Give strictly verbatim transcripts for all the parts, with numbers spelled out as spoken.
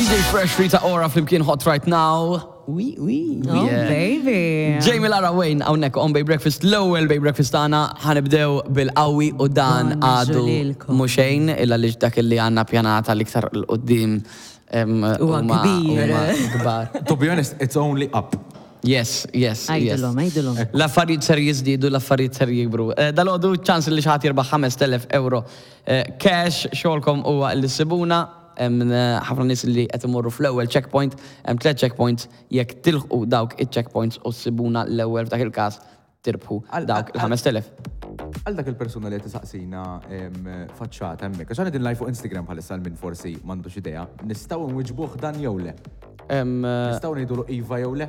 D J Fresh, Rita Ora flimkien, Hot Right Now. Oui, oui. Oh, Yeah. baby. Jamie, Lara, Wayne, hawnhekk on Bay Breakfast, l-ewwel Bay Breakfast tagħna. Ħa nibdew bil-qawwi u dan Bonġu għadu lilkom. Mhux xejn illa li dak li għandna pjanata l-iktar 'l quddiem Huwa huma- kbir. huma kbar. To be honest, it's only up. Yes, yes, yes. Għidilhom, għidilhom. L-affarijiet ser jiżdiedu, l-affarijiet ser jikbru. Eh, Dalgħodu ċans li xi ħadd jirbaħ ħamest elef euro eh, cash. Xogħolkom huwa li ssibuna. Hemm eh, ħafna nies li qed imorru fl-ewwel checkpoint, hemm tliet checkpoints, jekk tilħqu dawk iċ-checkpoints u ssibuna l-ewwel, f'dak il-każ tirbħu Għal- dawk għal- il-ħamest elef. Għal dak il-persuna li qed tisaqsina em, faċċata hemmhekk, għax qegħdin live fuq Instagram bħalissa, għal min forsi m'għandux idea, nistgħu nwiġbuh dan jew le? Hemm, eh, Nistgħu ngħidulu iva jew le?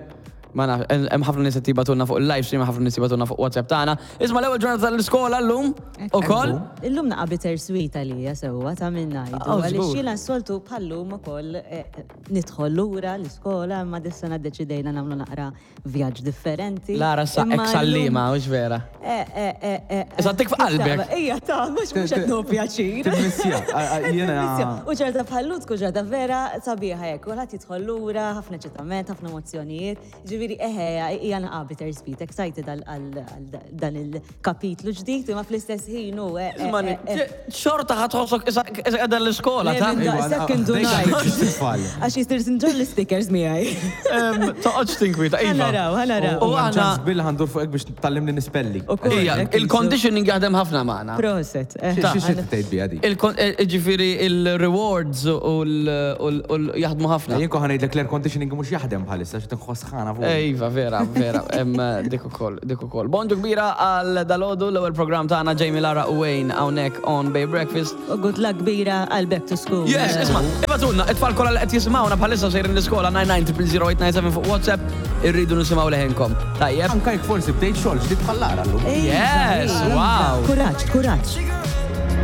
Ma naf, hemm ħafna nies qed jibagħtulna fuq il-live stream, ħafna nies jibagħtulna fuq WhatsApp tagħna. Isma', l-ewwel ġurnata tal-iskola llum ukoll. Illum naqa bitter sweet għalija sewwa ta' minn ngħidu. Oh, Għaliex żgur. jiena s-soltu bħallum ukoll eh, nidħol lura l-iskola, imma dis-sena ddeċidejna nagħmlu naqra vjaġġ differenti. Lara sa Imma ex għalliema, hux vera? Eh, eh, eh, eh, Issa tik f'qalbek. Ija, ta' mhux mhux qed nieħu pjaċir. Timmissja, jiena. U ġurnata bħallum tkun ġurnata vera sabiħa hekk, kulħadd jidħol lura, ħafna eċitament, ħafna emozzjonijiet. Ġifieri eħe, hija naqa bitter sweet, excited għal għal dan il-kapitlu ġdid, imma fl-istess ħin hu. eh, eh, Isma', eh, eh. xorta ħa tħossok issa qiegħda l-iskola, ta' Le, minn second to nine. Tfal. Għax jistir sinġor l-stickers miegħi. Em, Toqgħodx tinkwita, Iva. iva. Ħa naraw, ħa naraw. U aħna ċans bil ħa ndur fuqek biex tallimni nispelli. Ukoll, Ija, hekk il-conditioning jaħdem ħafna magħna. Proset. eh. Xi xi tgħid biha di? Il-kon- eh, Ġifieri il-rewards u l- u l- u l- jaħdmu ħafna. Jien kont ħa ngħidlek l-air conditioning mhux jaħdem bħalissa xi tinħoss sħana fuq. Iva, vera, vera, hemm dik ukoll, dik ukoll. Bonġu kbira għal dalgħodu, l-ewwel program tagħna, Jamie, Lara u Wayne hawnhekk on Bay Breakfast. U good luck kbira għal back to school. Yes, isma', ibagħtulna, it-tfal kollha li qed jisimgħuna bħalissa sejrin l-iskola, nine nine zero zero zero eight nine seven fuq WhatsApp, irridu nisimgħu leħinkom. Tajjeb? Anka jekk forsi bdejt xogħol ġdid bħal Lara llum. Iva, Yes, iva. wow. Kuraġġ, kuraġġ.